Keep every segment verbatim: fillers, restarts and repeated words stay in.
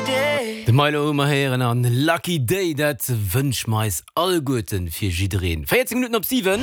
Day. De Milo hu mer héieren an Lucky Day, dat wënsche mer eis alleguerten fir jiddereen. véierzéng Minutten op siwen.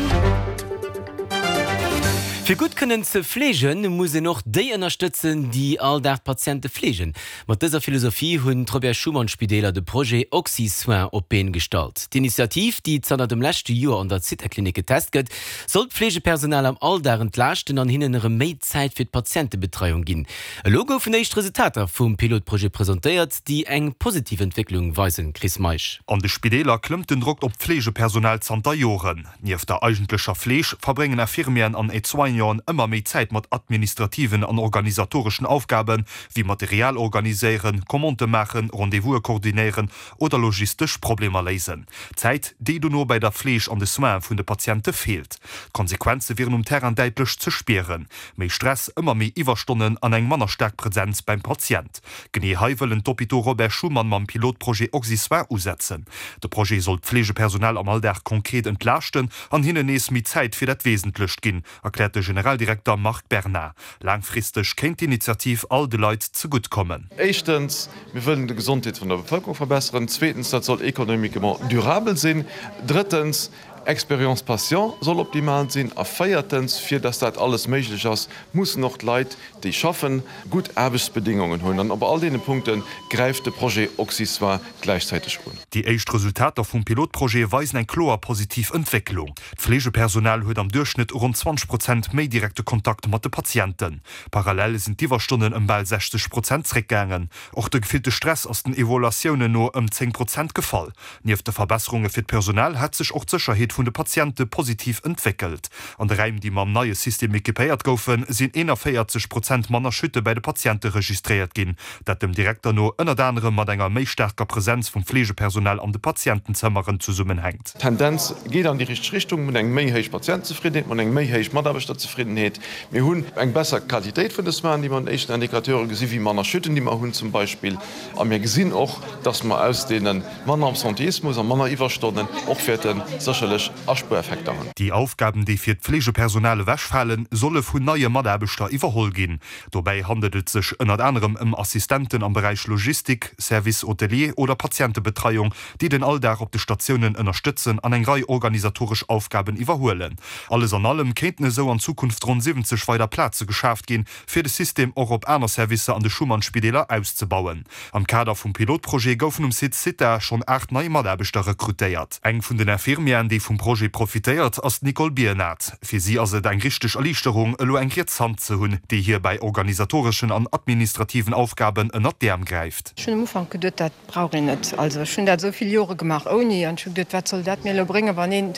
Fir gutt kënnen ze fleegen, muss een och déi ënnerstëtzen, déi all Dag d'Patiente fleegen. Mat dëser Philosophie hunn d'Robert Schuman Spideeler de Projet OxySoin op d'Been gestallt. D'Initiativ, déi zanter dem leschte Joer an der Zithaklinik getest gëtt, soll d'Fleegepersonal am Alldag entlaaschten an hinnen erëm méi Zäit fir d'Patientebetreiung ginn. Elo goufen éischt Resultater vum Pilotprojet presentéiert, déi eng positiv Entwécklung weisen, Chris Meisch. An de Spideeler klëmmt den Drock op d'Fleegepersonal zanter Joren. Nieft der eigentlecher Fleeg verbréngen Infirmieren an Aide-soignanten ëmmer méi Zäit mat administrativen an organisatoreschen Aufgaben, wéi Material organiséieren, Commandë maachen, Rendez-vouse koordinéieren oder logistesch Problemer léisen. Zäit, déi dono bei der Fleeg an de Soine vun de Patiente feelt. D'Konsequenze wieren um Terrain däitlech ze spieren. Méi Stress, ëmmer méi Iwwerstonnen an eng manner staark Presenz beim Patient. Genee hei wëllen d'Hôpitaux Robert Schuman mam Pilotprojet OxySoin usetzen. De Projet soll d'Fleegepersonal am Alldag konkret entlaaschten an hinnen nees méi Zäit fir dat Wesentlecht ginn, erkläert de Generaldirekter Marc Bernard. Laangfristeg kéint d'Initiativ all de Leit zegutt kommen. Éischtens, mir wëllen d'Gesondheet vun der Bevëlkerung verbesseren. Zweetens, dat soll économiquement durabel sinn. Drëttens, Expérience patient soll optimal sinn. A véiertens, fir dass dat alles méiglech ass, mussen och d'Leit, déi schaffen, gutt Aarbechtsbedingungen hunn. An op all deene Punkte gräift de Projet OxySoin gläichzäiteg un. Déi éischt Resultater vum Pilotprojet weisen eng kloer positiv Entwécklung. D'Fleegepersonal huet am Duerchschnëtt ronn zwanzeg Prozent méi direkte Kontakt mat de Patienten. Parallel sinn d'Iwwerstonnen ëm bal sechzeg Prozent zréckgaangen. Och de gefillte Stress ass den Evaluatiounen no ëm zéng Prozent gefall. Nieft de Verbesserunge fir d'Personal hätt sech och d'Sécherheet vun de Patiente positiv entwéckelt. An de Raim, déi mam neie System equipéiert goufen, sinn eenanvéierzeg Prozent manner Chute bei de Patiente registréiert ginn. Dat dem Direkter no ënnert anerem mat enger méi staarker Presenz vum Fleegepersonal an de Patientenzëmmeren zesummenhänkt. D'Tendenz geet an déi richteg Richtung. Mir hunn eng méi héich Patientenzefriddenheet, mir hunn eng méi héich Mataarbechterzefriddenheet, mir hunn eng besser Qualitéit vun de Soinen, déi mer an den éischten Indicateure gesinn, wéi manner Chutten, déi mer hunn zum Beispill. A mir gesinn och, dass mer aus deene manner Absenteismus a manner Iwwerstonnen och wäerte sécherlech Aspuereffekter hunn. Déi Aufgaben, déi fir d'Fleegepersonal ewechfalen, solle vun neie Mataarbechter iwwerholl ginn. Dobäi handelt et sech ënnert anerem ëm Assistenten am Beräich Logistik, Service hôtelier oder Patientebetreiung, déi den Alldag op de Statiounen ënnerstëtzen an eng Rei organisatoresch Aufgaben iwwerhuelen. Alles an allem kéinten esou an Zukunft ronn siwwenzeg weider Plaze geschaaft ginn, fir de System och op aner Servicer an de Schuman-Spideeler auszebauen. Am Kader vum Pilotprojet goufen um Site Zitha schonn aacht nei Mataarbechter rekrutéiert. Eng vun den Infirmieren, déi vum Projet profitéiert, ass d'Nicole Biernat. Fir si ass et eng richteg Erliichterung, elo eng riets Hand ze hunn, déi hir bei organisatoreschen an administrativen Aufgaben ënnert d'Äerm gräift. Ech hunn am Ufank geduet, dat brauch een net. Also ech hunn dat esou vill Jore gemaach ouni an ech hu geduet, wat soll dat mir elo bréngen, wann een